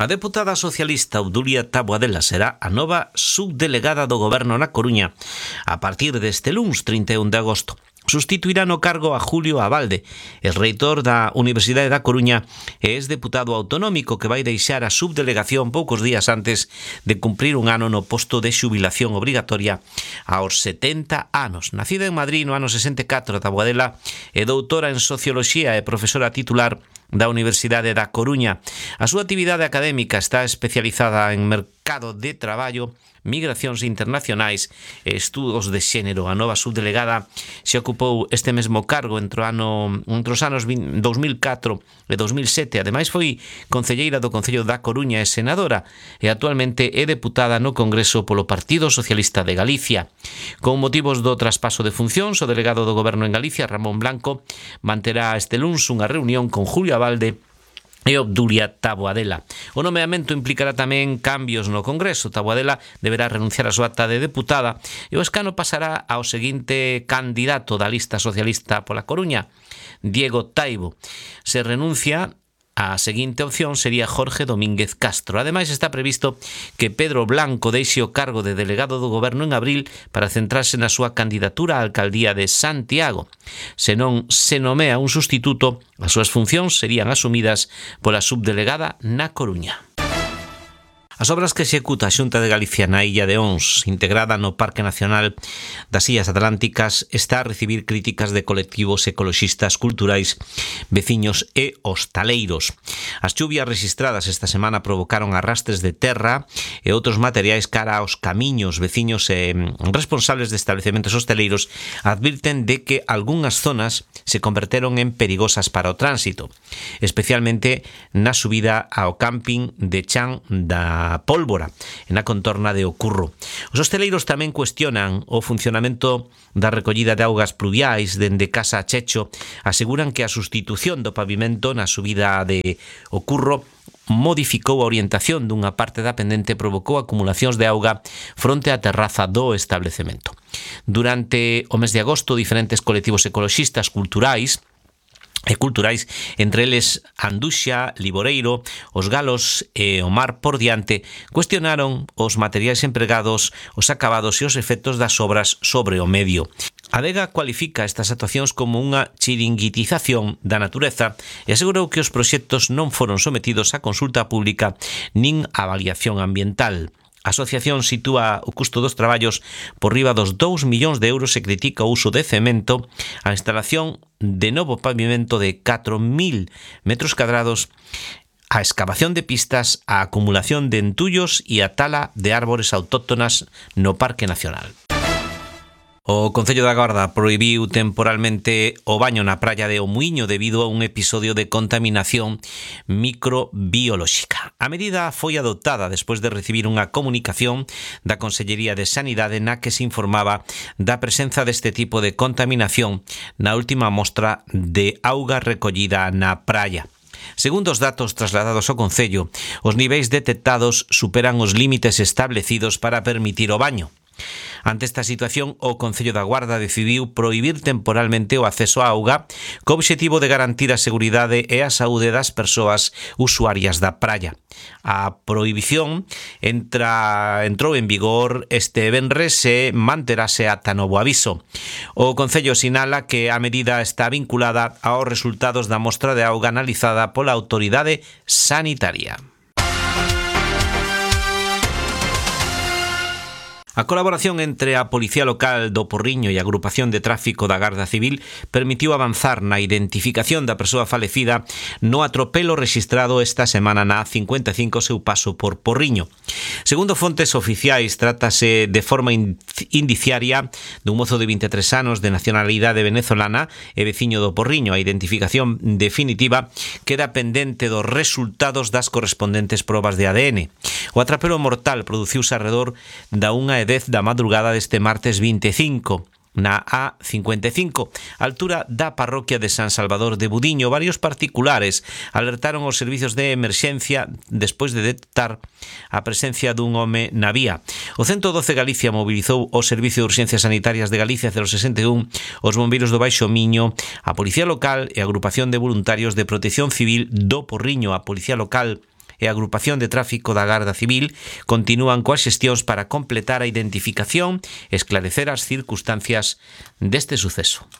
A deputada socialista Obdulia Taboadela será a nova subdelegada do Goberno na Coruña a partir deste luns 31 de agosto. Sustituirá no cargo a Julio Abalde, el reitor da Universidade da Coruña e deputado autonómico que vai deixar a subdelegación poucos días antes de cumprir un ano no posto de xubilación obrigatoria aos 70 anos. Nacida en Madrid no ano 64, Taboadela é doutora en Socioloxía e profesora titular da Universidade da Coruña. A súa actividade académica está especializada en mercado de traballo, migracións internacionais e estudos de xénero. A nova subdelegada se ocupou este mesmo cargo entre os anos 2004 e 2007. Ademais foi concelleira do Concello da Coruña e senadora e actualmente é deputada no Congreso polo Partido Socialista de Galicia. Con motivos do traspaso de funcións, o delegado do Goberno en Galicia, Ramón Blanco, manterá este luns unha reunión con Julio Abalde e Obdulia Taboadela. O nomeamento implicará tamén cambios no Congreso. Taboadela deberá renunciar a súa acta de deputada e o escano pasará ao seguinte candidato da lista socialista pola Coruña, Diego Taibo. Se renuncia, a seguinte opción sería Jorge Domínguez Castro. Ademais, está previsto que Pedro Blanco deixe o cargo de delegado do Goberno en abril para centrarse na súa candidatura á alcaldía de Santiago. Se non se nomea un sustituto, as súas funcións serían asumidas pola subdelegada na Coruña. As obras que executa a Xunta de Galicia na Illa de Ons, integrada no Parque Nacional das Illas Atlánticas, está a recibir críticas de colectivos ecoloxistas, culturais, veciños e hostaleiros. As chuvias registradas esta semana provocaron arrastres de terra e outros materiais cara aos camiños. Veciños e responsables de establecementos hostaleiros advirten de que algunhas zonas se converteron en perigosas para o tránsito, especialmente na subida ao camping de Chan da Pólvora, na contorna de Ocurro. Os hosteleiros tamén cuestionan o funcionamento da recollida de augas pluviais dende Casa a Checho. Aseguran que a sustitución do pavimento na subida de Ocurro modificou a orientación dunha parte da pendente e provocou acumulacións de auga fronte á terraza do establecemento. Durante o mes de agosto, diferentes colectivos ecoloxistas culturais, entre eles Anduxa, Liboreiro, Os Galos e o Mar por Diante, cuestionaron os materiais empregados, os acabados e os efectos das obras sobre o medio. A Adega cualifica estas actuacións como unha chiringuitización da natureza e asegurou que os proxectos non foron sometidos a consulta pública nin a avaliación ambiental. A asociación sitúa o custo dos traballos por riba dos 2 millóns de euros e critica o uso de cemento, a instalación de novo pavimento de 4.000 metros cadrados, a excavación de pistas, a acumulación de entullos e a tala de árbores autóctonas no Parque Nacional. O Concello da Guarda prohibiu temporalmente o baño na praia de O Muiño debido a un episodio de contaminación microbiolóxica. A medida foi adoptada despois de recibir unha comunicación da Consellería de Sanidade na que se informaba da presenza deste tipo de contaminación na última mostra de auga recollida na praia. Segundo os datos trasladados ao Concello, os niveis detectados superan os límites establecidos para permitir o baño. Ante esta situación, o Concello da Guarda decidiu prohibir temporalmente o acceso á auga co obxectivo de garantir a seguridade e a saúde das persoas usuarias da praia. A prohibición entrou en vigor este venres e manterase ata novo aviso. O Concello sinala que a medida está vinculada aos resultados da mostra de auga analizada pola autoridade sanitaria. A colaboración entre a Policía Local do Porriño e a Agrupación de Tráfico da Garda Civil permitiu avanzar na identificación da persoa falecida no atropelo rexistrado esta semana na A55 seu paso por Porriño. Segundo fontes oficiais, trátase de forma indiciaria dun mozo de 23 anos de nacionalidade venezolana e veciño do Porriño. A identificación definitiva queda pendente dos resultados das correspondentes probas de ADN. O atropelo mortal produciuse arredor da 1:10 da madrugada deste martes 25 na A55, altura da parroquia de San Salvador de Budiño. Varios particulares alertaron os servizos de emerxencia despois de detectar a presencia dun home na vía. O 112 Galicia mobilizou o Servicio de Urxencias Sanitarias de Galicia 061, os bombeiros do Baixo Miño, a Policía Local e a Agrupación de Voluntarios de Protección Civil do Porriño. A Policía Local e a Agrupación de Tráfico da Garda Civil continúan coas xestións para completar a identificación e esclarecer as circunstancias deste suceso.